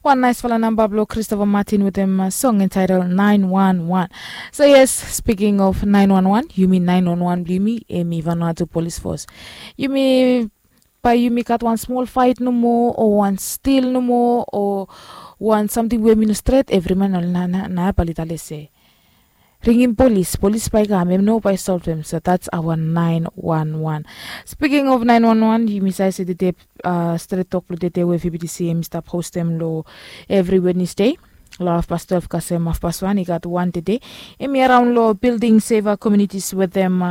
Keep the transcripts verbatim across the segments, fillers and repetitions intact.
Wan naisfala namba blong Christopher Martin wetem song entitled nine one one. So yes, speaking of nine one one, yumi nine one one blong yumi em i Vanuatu Police Force. Yumi, bae yumi gat wan smol faet nomo o wan stil nomo o wan samting we em i no stret, evri man ol na na na bae oli talem se ringim polis, polis bae i kam, em no bae i solvem. So that's our nine one one. Speaking of nine one one, yumi save se tede, stret tok blong tede we V B T C em i stap hostem long evri Wednesday long hafpas twelve kasem hafpas wan i gat wan tede. Em i araon long building safer communities wetem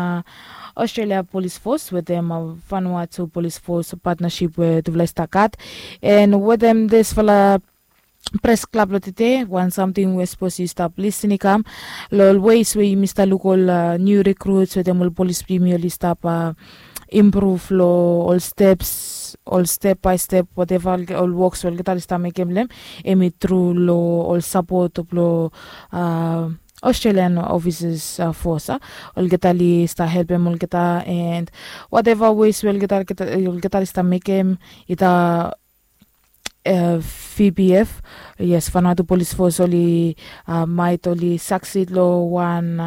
Australia Police Force wetem Vanuatu Police Force partnership we tufala i stap gat. And wetem disfala pres klab long tede, wan samting we sapos yu stap lisin i kam long ol ways we yumi stap luk ol niu rekruts wetem ol polis blong yumi oli stap impruv long ol steps, ol step bae step, wateva ol woks we olgeta oli stap mekem long em, em i tru long ol sapot blong Australian ofisas fos. Olgeta oli stap helpem olgeta, and wateva ways we olgeta oli stap mekem, ita V P F, yes, Vanuatu Police Force oli maet oli saksid long wan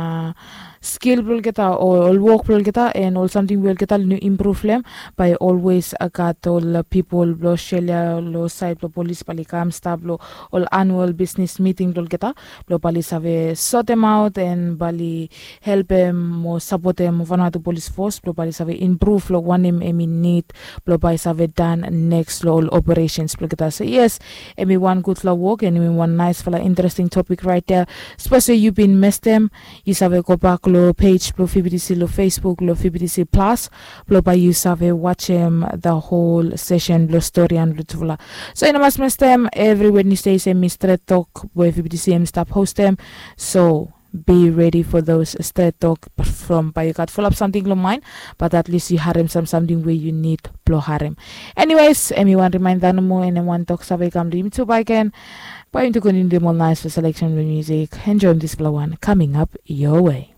skil blong olgeta o ol wok blong olgeta, and ol samting we olgeta oli no impruv long em, bae olwes gat ol pipol blong Australia long saed blong polis bae oli kam stap long ol anual bisnis miting blong olgeta, blong bae oli save sotemaot and bae oli helpem o sapotem Vanuatu Police Force blong bae oli save impruv long wanem em i nid blong bae i save dan neks long ol operesens blong olgeta. So yes, em i wan gudfala wok and em i wan naesfala interesting topik raet ya. Sapos we yu bin mestem, yu save gobak long pej blong V B T C long Facebook long V B T C Plus, blong bae yu save wajem the whole sesen blong storian blong tufala. So yu no mas mestem, evri Wednesdays em i stret tok we V B T C em i stap hostem. So be ready for those stret tok from bae yu gat fulap samting long maen, but at least yu harem sam samting we yu nid blong harem. Anyways, em i wan rimaenda nomo and em wan tok save i kam long yumi tu bakegen. Bae yumi tu kontiniu dem ol naesfala seleksen blong musik. Enjoem disfala wan coming up your way.